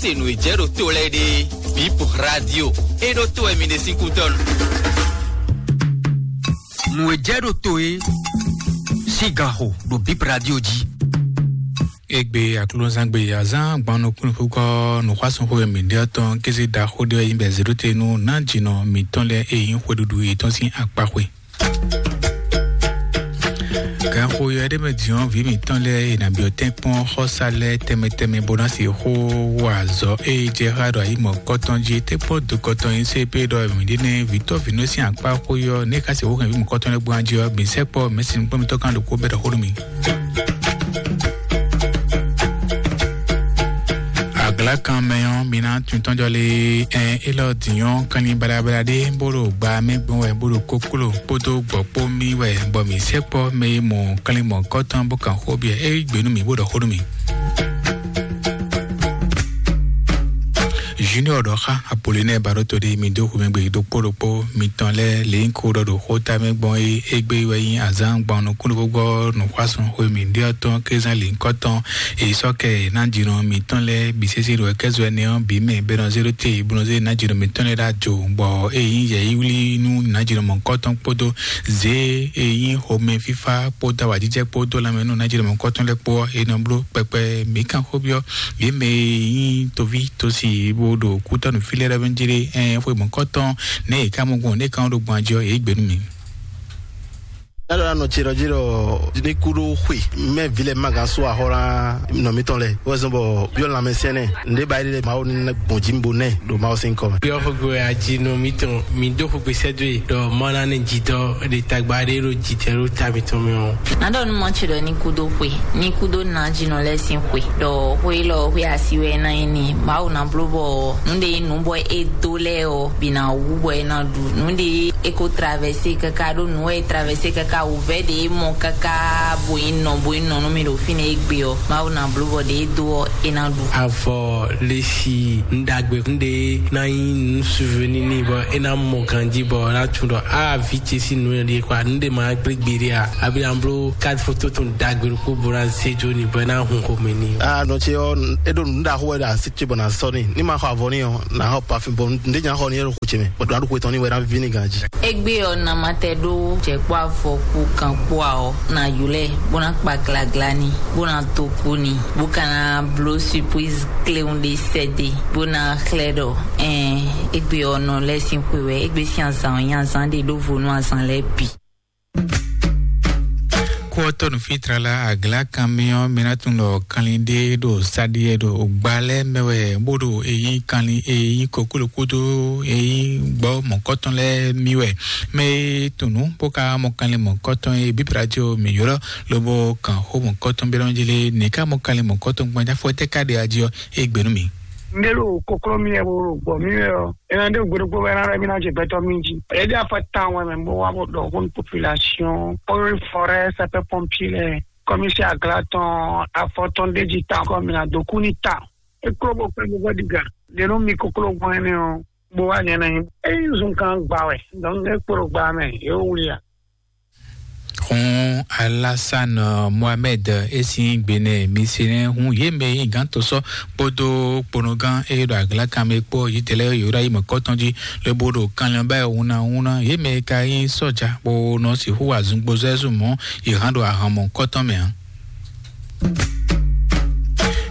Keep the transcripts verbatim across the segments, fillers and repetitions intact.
Se nǔ e jɛ ɖo to lɛ́ɛ ɖe, Bip Radio, e ɖo to wɛ mi ɖe sín kútɔ́ nu. Nǔ e jɛ ɖo to e, sigaxo ɖo Bip Radio jí. Egbe aklúnɔzán gbe azán gban nukúnnukúkɔ nǔxwásúnxó e mǐ ɖe ɔ́ tɔn kéze ɖaxó ɖé wɛ nyí bɔ zěɖótenú ná jǐnɔ mǐtɔn lɛ́ɛ e nyí xweɖuɖu yětɔn sín akpaxwe. Ganxoyɔ ɖé mɛ din ɔ́, vǐ mǐtɔn lɛ́ɛ e nǎ byɔ́ tɛ́nkpɔ́n xɔ́sá lɛ́ɛ tɛnmɛ tɛnmɛ bó ná sixú wa azɔ̌ e jɛ xá ɖo ayi mɔ̌kɔtɔn jí. Tɛ́nkpɔ́n dokɔtɔn nyí C P ɖɔ mǐ ɖe nɛ́ vǐtɔ́ vǐnɔ sín akpá xó yɔ nɛ́ ka sixú hɛn vǐ mɔ̌kɔtɔn lɛ́ɛ gbɔn jí ɔ́, mǐ sɛkpɔ́ mɛ̌si nukpɔ́nmítɔ́ kan ɖokpó bɛ́ ɖɔ xó nú mì. Aglakan mɛ ɔ́, mi ná tun tɔ́njɔ lé. Ɛn élɔ́ dǐn ɔ́, kanlin baɖabaɖa ɖé bó ɖo gba mɛ gbɔn wɛ bó ɖo kókló kpódó gbɔ̌kpó mì wɛ, bɔ mǐ sɛkpɔ́ mɛ e mɔ kanlin mɔ̌kɔtɔn bó kan xó byɔ́ é gbě nú mì bó ɖɔ xó nú mì. Junior ɖɔ xá Apolinɛ Baroto ɖi mi dó xomɛgbe ɖokpó ɖokpó mitɔn lɛ́ɛ lě nyí ko ɖɔ ɖo xó ta mɛ gbɔn é égbé wɛ nyí azǎn gbɔn nukúnnukúngbɔ nǔxwásún xwe mǐ ɖe ɔ́ tɔn kézán lǐnkɔ́tɔn èyí sɔ́ kɛ nájínɔ mǐtɔn lɛ́ɛ bǐ sésé ɖo kɛ́zɔ ɛnɛ ɔ́ bǐ mɛ bɛ́nɔ zé ɖó te bó nɔ zé nájínɔ mǐtɔn lɛ́ɛ ɖó ajo bɔ é nyí yɛ̌yíwlí nú nájínɔ mɔ̌kɔtɔn kpódó zě e nyí xomɛ fífá kpódó awǎjijɛ kpódó lanmɛ nú nájínɔ mɔ̌kɔtɔn lɛ́ɛ kpó ɔ́, è nɔ bló kpɛkpɛ mǐ kan xó byɔ́ yě mɛ e nyí toví tosi bó ɖo kútɔ́nú fí lɛ́ɛ ɖɔ́ mɛ jlé ɛn xwe mɔ̌kɔtɔn nɛ́ yě ká mɔ gbɔn nɛ́ ká ɖo gbɔn ajɔ yě gbě nú mì. Ɛlɔ anɔ tsi ɖɔ dzi ɖɔ ní kú ɖó xwe mɛ vi lɛ ma gán so axɔ ná nɔ mitɔn lɛ wɛ zɔn bɔ yɔ lanmɛ sɛnɛ nde ba yi lɛ mawu ní gbɔn dzi bo nɛ ɖo mawu sin kɔ mɛ. Yɔ xogbe aji nɔ mitɔn mi do xogbe sɛdo ye ɖɔ mɔ na ne dzi dɔ ɖe tagba ɖe ɖo dzi tɛ ɖo ta mitɔn mɛ o. Nadɔ nu mɔ tsi ɖɔ ní kú ɖó xwe ní kú ɖó na dzi nɔ lɛ sin xwe ɖɔ xwe lɔ xwe asi wɛ na yi ni mawu na blo bɔ nu ɖe yi nu bɔ e do lɛ o. Bina wu bɔ e na ɖu nu ɖe e ko traverse kaka ɖo nu e traverse kaka wuvɛ ɖe e mɔ kaka bo yi nɔ bo yi nɔ nu mi ɖo fi ne e gbe ɔ mawu na blo bɔ ɖe e do ɔ e na ɖu. Avɔ lesi ndagbe kunde na yi nu suveni ni bɔ e na mɔ ganji bɔ na tun dɔ a vi ce si nu ɖe kwa nu ɖe ma gbe gbe ɖe a abi an blo carte photo tun dagbe ko bo na se jo ni bɔ e na hun ko me ni. A nɔ ce ɔ e ɖo nu ɖaxo wɛ ɖe asi ce bɔ na sɔ ni ni ma xɔ avɔ ni ɔ na xɔ parfum bɔ n de nya xɔ ni e ɖo xo ce mɛ bɔ ɖo aɖukwe tɔn ni wɛ na vi ni ganji. Egbe ɔ namatɛ ɖo jɛkpɔ afɔ ku kan kpɔa ɔ na yulɛ bona kpa glagla ni bona to ku ni bo kana blo surprise kleun de sɛde bona xlɛ ɖɔ ɛn egbe ɔ nɔ lɛ sin xwe wɛ egbe sin azan ɔ nyi azan de ɖo vo nú azan lɛ bi. Kú ɔ́ tɔ́ nǔfítrala agla kan mì ɔ́ mi ná tunwun ɖɔ kanlin ɖé ɖo sáɖiɛ ɖo gba lɛ́ɛ mɛ wɛ bó ɖo eyín kanlin eyín kokló kúdó eyín gbɔ mɔ̌kɔtɔn lɛ́ɛ mì wɛ. Mɛ e tunwun bó ka mɔ kanlin mɔ̌kɔtɔn e bíbla jí o mǐ ylɔ́ lobo kan xó mɔ̌kɔtɔn byɔ́ nɔ jí lé nǐ ká mɔ kanlin mɔ̌kɔtɔn gbɔn jáfɔ tɛ́ ká ɖe ají ɔ́ é gbe nú mì. Ndé ɖo kokló mì wɛ bó ɖo gbɔ mì wɛ ɔ́, é ná ɖe gbe ɖokpó bɔ é ná ɖɔ mì ná jɛ gbɛtɔ́ mì jí. É ɖe afɔ tawun wɛ mɛ bó wá bó ɖɔ xó nú population, eaux et forêts, sapeurs pompiers lɛ́ɛ, commissaire agla tɔn, afɔ tɔn ɖé jí tawun kɔ mì ná dó kú ní tawun. É kló bó kpɛ́ bó vɔ ɖiga. Ɖě nú mi kokló gbɔn énɛ́ ɔ́, bó wá nyɛ ná nyí. É nyí zunkan gba wɛ, donc é kpo ɖo gba mɛ, é wó wlí a. Hun Alasan Mohamed e sín gbenɛ mi se nɛ hun yě mɛ yi gán to sɔ́ kpódó kponɔgán e ɖo aglakan mɛ kpó yitɛlɛ Ibrahim kɔtɔn jí lobo ɖo kanlin ba hun na hun na yě mɛ ka nyí sɔ́ja bó nɔ sixú wa zungbozɔ́ mɔ̌ yě hán ɖo ahan mɔ̌kɔtɔn mɛ ǎ.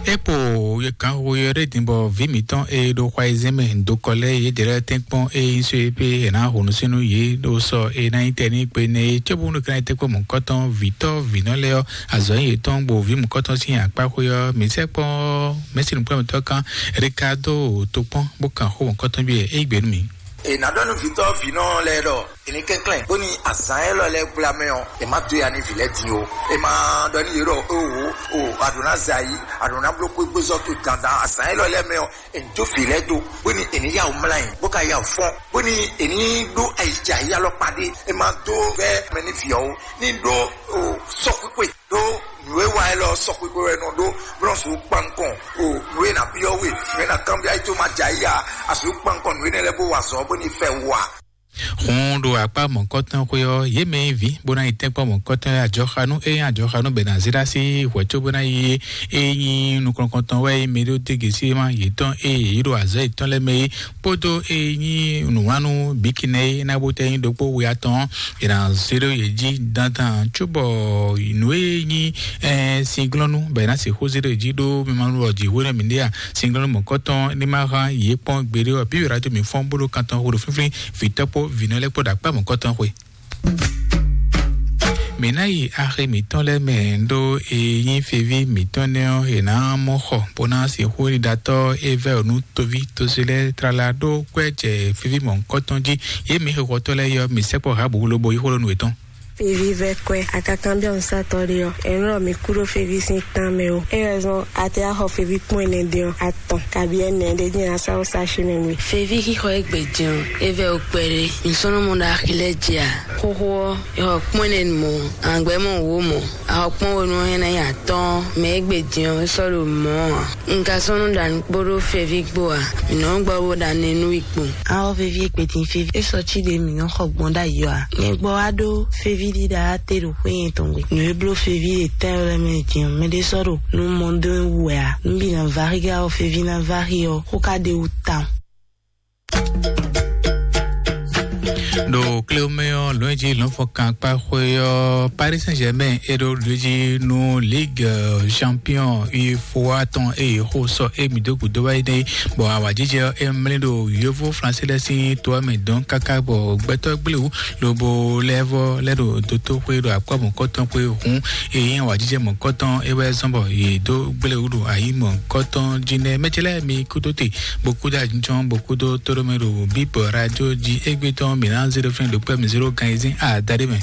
Epo ye kan wo ye ɖe din bɔ vi mǐtɔn e ɖo xwa yi zɛn mɛ dokɔ lɛ ye ɖe lɛ tɛnkpɔn e nyi so ye pe e na ho nu sinu ye ɖo sɔ e na nyi tɛ ni gbe ne ye cóbunu kan ye tɛnkpɔn mɔ̌kɔtɔn vǐtɔ́ vǐnɔ lɛ ɔ́ azɔ̌ nyi yětɔn gbo vi mɔ̌kɔtɔn sín akpá xwé ɔ́ mǐ sɛkpɔn mɛsinu kplɔ́nmɛtɔ́ kan Ricardo tokpɔn bó kan xó mɔ̌kɔtɔn bí e yi gbe nú mǐ. È nǎ ɖɔ nú vǐtɔ́ vǐnɔ lɛ́ɛ ɖɔ è ní kɛnklɛ́n bóni azǎn élɔ́ lɛ́ɛ gbla mɛ ɔ́, è má dó ya nú vǐ lɛ́ɛ din ó. È ma ɖɔ nú yě ɖɔ: "Oho, o, a ɖǒ ná zɛ ayǐ, a ɖǒ ná bló kpégbézɔ́ towe dandan azǎn élɔ́ lɛ́ɛ mɛ ɔ́, è ní jó vǐ lɛ́ɛ dó, bóni è ní yá wǔ mlá ayǐ, bó ka yá wǔ fɔ́n, bóni è ní ɖó ayǐjɛ ayǐ alɔkpa ɖé. È ma dó vɛ́ mɛ nú vǐ ɔ́ ó, ní ɖó o sɔ́xwíxwe ɖó nǔ e wa élɔ́ sɔ́xwíxwe wɛ nɔ ɖó, bó nɔ sixú kpan nukɔn o nǔ e ná byɔ́ we, nǔ e ná kanbyɔ́ ayí tó ma jɛ ayí ǎ, a sixú kpan nukɔn nǔ énɛ́ lɛ́ɛ bó wa azɔ̌ bóni fɛ wú ǎ." Hun ɖo akpá mɔ̌kɔtɔn xwe ɔ́, yě mɛ e ví bó ná yi tɛ́nkpɔ́n mɔ̌kɔtɔn lɛ́ɛ ajɔxanú, ényí ajɔxanú bɛ̌ ná zé ɖó así hwɛ̌ có bó ná yi é nyí nukɔnkɔntɔn wɛ é mɛ ɖó dégesi ma yětɔn ée yě ɖo azɔ̌ yětɔn lɛ́ɛ mɛ é, kpódó é nyí nǔwánú bǐkinɛ é ná bó tɛ nyí ɖokpó we atɔn, è nǎ zé ɖó yě jí dandan cóbɔ nǔ e nyí singlɔ́nú bɔ è nǎ sixú zé ɖó yě jí ɖó mɛ ma nú ɔ́ jí hwéɖɔ mǐ ɖe a, singlɔ́nú mɔ̌kɔtɔn ní ma hán yě kpɔ́n gbeɖé ɔ́, bíbí ɖato mǐ fɔ́n bó ɖó kan tɔn xo ɖo fínfín, vǐtɔ́ kpó vǐnɔ lɛ́ɛ kpó ɖo akpá mɔ̌kɔtɔn xwe. Mǐ ná yi axi mǐtɔn lɛ́ɛ mɛ ɖó e nyí feví mǐtɔn nɛ́ ɔ́, è nǎ mɔ xɔ bó ná sixú ɖiɖatɔ́ é vɛ́ nú toví tosi lɛ́ɛ tlala ɖó kwɛ́ jɛ feví mɔ̌kɔtɔn jí. Yě mǐ xixɔtɔ́ lɛ́ɛ yɔ mǐ sɛkpɔ́ hǎ bǔ lobo yí xó ɖó nú yětɔn. Feví vɛ́ kwɛ́, akakanbyɔ́ nǔsatɔ́ ɖé ɔ́, è nɔ ɖɔ mǐ kú ɖó feví sín tán mɛ ó. É wɛ zɔ́n a te wá xɔ feví kpɔ́n ɛnɛ ɖé ɔ́, atɔn kabi ɛnɛ ɖé jɛ́n a sá ó sá xi mɛ mi. Feví xixɔ e gbě jɛ́n ɔ́, é vɛ́ ó kpɛ́ ɖé. Nǔsɔ́nɔmɔ ɖo axi lɛ́ɛ jí a? Xóxó ɔ́, è xɔ kpɔ́n ɛnɛ mɔ̌, àgbɛ́ mɔ wǒ mɔ̌, a xɔ kpɔ́n we nú ɔ́ é ná nyí atɔ́ɔ́n, mɛ e gbě jɛ́n ɔ́, é sɔ́ ɖo mɔ̌ ǎ. Un ka sɔ́ nú ɖa nǔ kpó ɖó feví kpó ǎ. Mǐ nɔ́ gbɔ bó ɖa nɛnú i kpowun. Awɔ feví e kpetin feví e sɔ cí ɖě mǐ nɔ xɔ gbɔn ɖ'ayǐ ɔ́ ǎ. Nyɛ gbɔ wá ɖó feví ɖíɖá te ɖo xwé nyɛ tɔn gbe. Nǔ e bló feví ɖe tɛ́ lɛ́ɛ mɛ din ɔ́, mɛɖé sɔ́ ɖo nú mɔ dó wú wɛ ǎ. Nǔ bǐ ná váxi ká ɔ́, feví ná váxi ɔ́, xó ká ɖe wú tawun. Ɖo kléwúmɛ ɔ́, lɔ̌nyijǐ lɔ̌nfɔkan kpá xwé ɔ́, Paris Saint-Germain é ɖó ɖějí nú Ligue Champion UEFA tɔn eye xó sɔ émí dó gǔdo wá yi ɖe, bɔ awǎjijɛ ɔ́ é mlí ɖo yóvó Flansé lɛ́ɛ sín to ɔ́ mɛ dɔn káká bɔ gbɛtɔ́ gblé wú lobo lɛ́ vɔ lɛ́ ɖo dótó xwé ɖo akpá mɔ̌kɔtɔn xwé hǔn. Eye nyí awǎjijɛ mɔ̌kɔtɔn é wɛ zɔ́n bɔ yě dó gblé wú ɖo ayǐ mɔ̌kɔtɔn jí nɛ́. Mɛ ce lɛ́ɛ mi kúdó te bó kúdó ajínjɔ́n bó kúdó tóɖómɛ ɖo bíbɔ rájó jí égbé tɔn mǐ ná zé ɖó fɛ́n ɖo kpɛ́ mǐ zé ɖó gan ayizɛ́n adaɖé mɛ.